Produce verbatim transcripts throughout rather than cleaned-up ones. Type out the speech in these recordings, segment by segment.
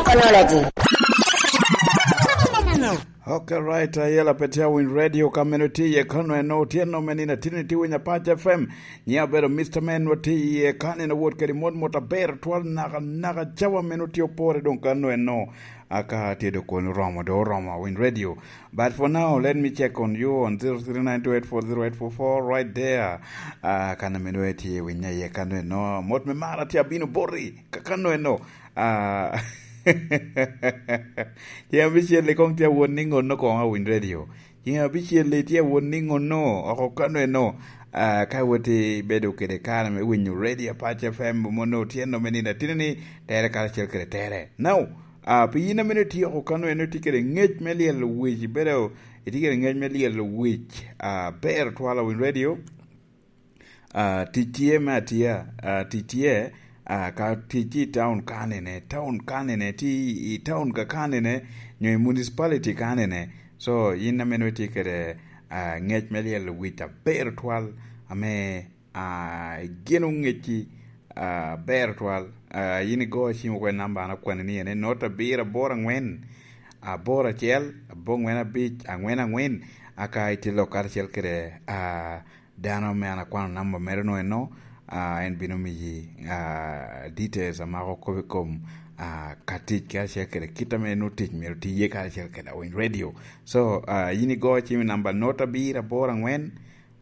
Technology. Ok, right, ayela pe tye awiny radio ka meno tye iye kano eno, tye no me nino atini tye winyo Apac F M. Nyiŋa obedo Mister Man, wa tye iye ka nino wot kede mot mot aber twal naka, naka cawa meno tye opore doŋ kano eno. Aka tye do kono romo, do oromo awiny radio. But for now, let me check on you on zero three nine two eight four zero eight four four right there. Ah, kano meno tye winyo iye kano eno. Mot me mara tye abino boti, ka kano eno. Ah, tye abicel i koŋ tye awot ni ŋonno koŋ awiny radio. Ceng abicel-li tye awot ni ŋonno oko kano eno, ah, ka iwot ibedo kede kare me winyo radio Apac F M, mono tye nome nino atino ni tere karacel kede tere. Now, ah, pi yin amene itye oko kano eno, itye kede ŋec me lyelo wic, ibedo itye kede ŋec me lyelo wic, ah, ber twal awiny radio. Ah, tic tye me atiya, ah, tic tye, ah, ka tic tye i taun kanene, taun kanene, tye i taun ka kanene, nyo i municipality kanene. So, yin ameno itye kede, ah, ŋec me lyelo wic aber twal, ame, ah, igeno ŋecci, ah, aber twal. Ah, yin igo cim okwe namba an akwanni ni ene not abiro aboro angwen, aboro acel, aboŋwen abic, angwen angwen, aka itye lok karacel kede, ah, dano ame an akwano namba mere no eno, ah, en bino miyi, ah, details a mako kop i kom, ah, ka tic karacel kede kit ame nwo tic myero ti iye karacel kede Awiny Radio. So, ah, yin igo cim i namba not abiro aboro angwen,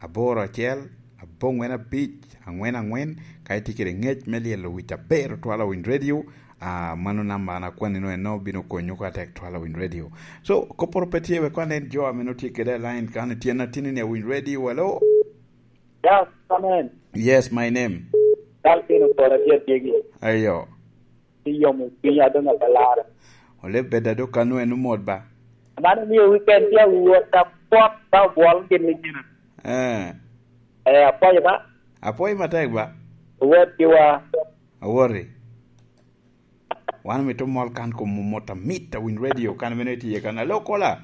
aboro acel, abongwen abic, angwen angwen, ka itye kede ŋec me lyelo wic aber twal Awiny Radio, ah, mano namba an akwanni no eno bino konyo ka tek twal Awiny Radio. So, kopporo pe tye wek kwan en jo ame nwo tye kede line kan tyen atini ni Awiny Radio, hello? Yes, amen. Yes, my name. Dal pino kora tye atyegi. Ayo. Iyomo piny adoŋ abelara. Ole bed ado kanu en omot ba. Man omio weekend tye awuot apwot ba obwol gin ni gin. Eh. Eh, apwoyo ba. Apwoyo matek ba. Owot ki wa. Awori. Wan mito mol kan kom mot amit Awiny Radio kan mene tye kan. Hello, caller.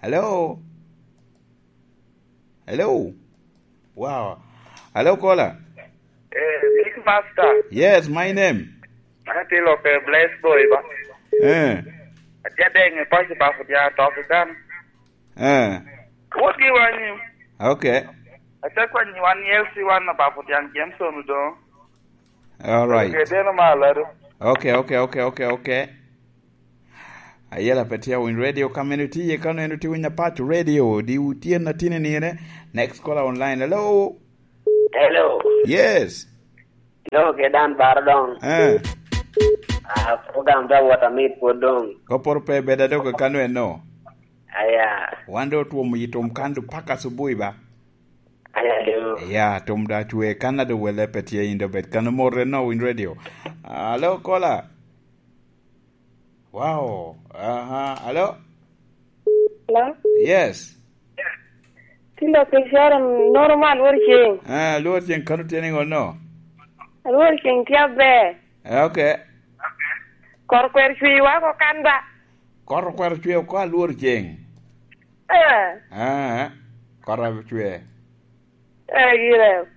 Hello. Hello. Wow. Hello, caller. Eh, Big Master. Yes, my name. An atye lok, eh, Bless Boy ba. Eh. Atye adeŋ i paco ba pwod ya tok i kan. Eh. Wot gi wanyi. Okay. Atye kwanyi wan L C one na ba pwod yan Jameson Odongo. All right. Okay, deno malo ado. Okay, okay, okay, okay, okay. Ayela pe tye Awiny Radio ka mene tye iye, ka neno tye winyo Apac Radio, di wutyen atini nire. Next caller online. Hello? Hello. Yes. Hello, ke dan bar dong. Eh. Ah, program da wata mit po dong. Koporo pe beda do ka kano eno. Aya. Wan do tuomo yi tum kan do paka subui ba? Aya do. Ya, tum da chwe kan ado wele pe tye indo bet kano more no Awiny Radio. Hello, caller. Wow. Aha. Hello? Hello? Yes. Tilo ke share normal wor ching. Ah, lwor ching kano tye ni ŋo no? Lwor ching tye aber. Eh, okay. Kor kwer cwi wa ko kan ba. Kor kwer cwi ko alwor ching. Eh. Ah, kor cwi. Eh, gire.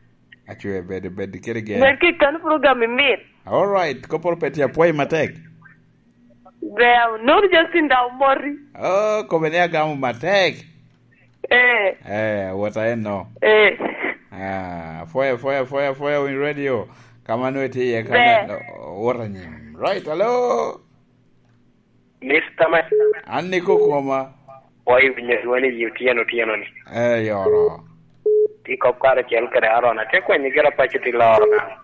Acwe bedo, bedo kede gen. Med ki kan program i mit. All right, koporo pe tye apwoyo matek. Ber, nono Justin da omoti. Oh, kobe ni agamo matek. Eh. Eh, wota en no. Eh. Ah, foya, foya, foya, foya Winy Radio. Kama nwe tye iye kama. Ber. Wota nyim. Right, hello. Mister Man. An ni kokoma. Pwoyo winyo dwoni i otyeno otyeno ni. Eh, yoro. Ti kop kare cel kede Aaron, atye kwenyo gira paco ti loro na.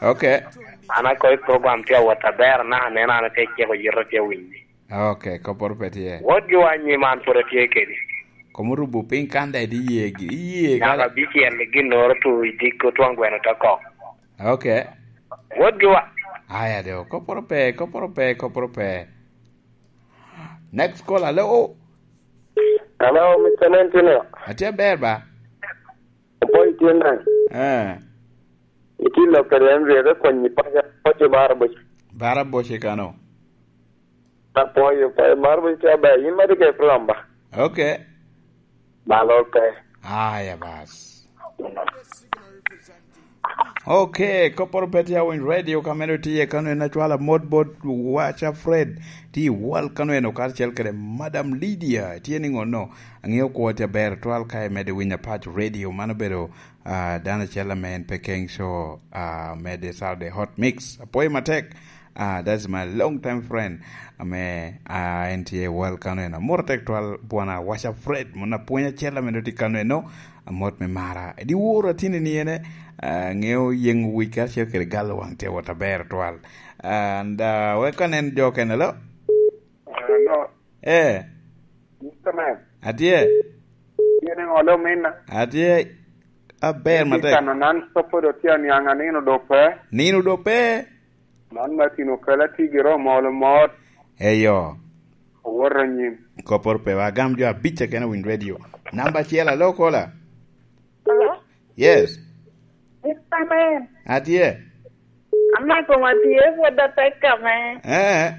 Okay. An akoy program tye awot aber na, aneno an atye ceko yito tye winyi. Okay, koporo pe tye. Wot gi wanyi man pwod atye kedi. Komo rubo piny kan da idi yegi, iye. Nyaka bicel gin noro tu i dik otwang gweno te kok. Okay. Wot gi wa. Aya do, koporo pe, koporo pe, koporo pe. Next call, hello. Hello, Mister Nentino. Atye ber ba? Apo itye nang? Eh. Itye lok kede en ryete kwanyi paca, paco bara boc. Bara boc i kano. Apwoyo, apwoyo, mar boc tye aber. Yin ma tye kede program ba? Okay. Ba lor pe. Aya bas. Ok, kopporo pe tye awiny radio ka meno tye kano en acwala mot bot Wacha Fred. Tye i wal kano en okar cel kede Madam Lydia. Tye ni ngono? Ang'eyo kwo tye aber twal ka imede winyo apac radio. Mano bedo, ah, dano acel ame en pe keng show, ah, mede Saturday Hot Mix. Apoyo matek. Ah, that's my long time friend. Ame, ah, en tye i wal kano en. Amor atek twal bwana Wacha Fred. Mona pwony acel ame tye kano eno. Amot me mara. Di woro atini ni ene, ah, ngeo yengo wic karacel kede galo wang tye wot aber twal. Ah, and, ah, wek anen jo kene lo. Hello. Eh. Mister Man. Atye. Yene ngolo minna. Atye. Aber matek. Kano nan sopo do tye aniang anino do pe. Nino do pe. Man Martin Okela tye gire omolo mot. Eyo. Owoto anyim. Kopporo pe wa, agam jo abic keken owiny radio. Namba acel, alo kola. Hello? Yes. Mister Man. Atye. Amako ma tye pwod atek ame. Eh.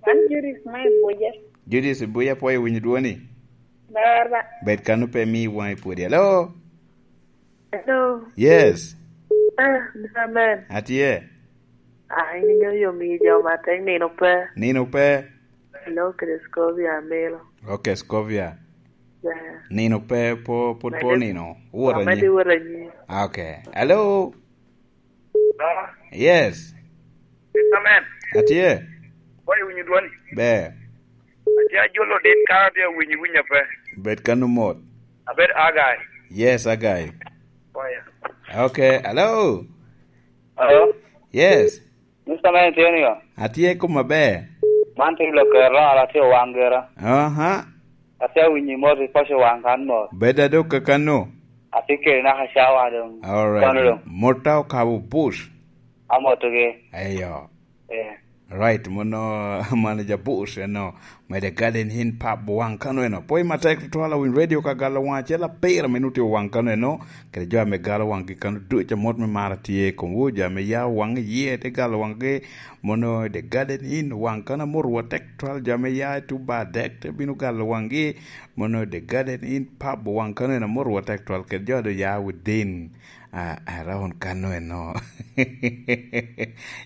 Man Judith me Buja. Judith Buja, pwoyo winyo dwoni. Ber ba. Bed kano pe mi waŋi pwodi. Hello? Hello. Yes. Ah, Mister Man. Atye. Ah, in inyo yom i jo matek nino pe. Nino pe. Hello, kede Scovia Amilo. Ok, Scovia. Yeah. Nino pe, po, pwod po nino. Wot anyi. Amedi wot anyi. Ok. Hello? Hello? Yes. Mister Man. Atye. Pwoyo winyo dwoni. Ber. Atye ajolo dit ka atye awinyo winya pe. Bed kano mot. Abed Agai. Yes, Agai. Pwoyo. Ok, hello. Hello? Yes. Mister Man tye ni o? Atye kom aber. Man tye Lokero, ala tye Owaŋ Gera. Aha. Atye awinyo mot i paco waŋ kan mot. Bed adok kakano. Atye kede naka cawa doŋ. All right. Kono doŋ. Mota okabo bush. Amotogi. Eyo. Eh. Right, mono manager bush, eno. Mede Garden Inn Pub waŋ kano eno. Pwoyo matek tutwal awiny radio ka galo waŋ acel apira me nuti waŋ kano eno. Kede jo ame galo waŋgi kano duc amot me mara tye i komwu, jo ame ya waŋ iye te galo waŋgi, mono The Garden Inn waŋ kano amot wa tek twal, jo ame ya i tuba dek te bino galo waŋgi, mono The Garden Inn Pub waŋ kano en amot wa tek twal, kede jo ado ya within, ah, around kano eno.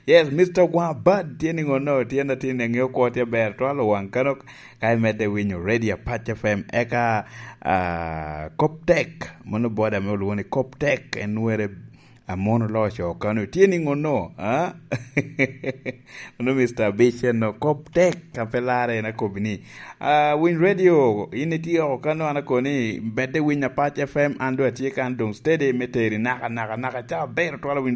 Yes, Mister Gwabad, tye ni ngono, tye na tin, ngeo kwo tye ber twal waŋ kano, ka imedde winyo Radio Apac F M, eka, ah, Kop Tek, mano boda ame olwongo ni Kop Tek, en were Amon Oloc Okano. Tye ni ngono, ah? Ono Mister Abic en no, Kop Tek, ka pe larre en akobi ni. Ah, winy radio, in itye oko kano, an akoni, bedde winy Apac F M, an doŋ atye kan doŋ steady me teri naka, naka, naka, ca ber twala winy radio.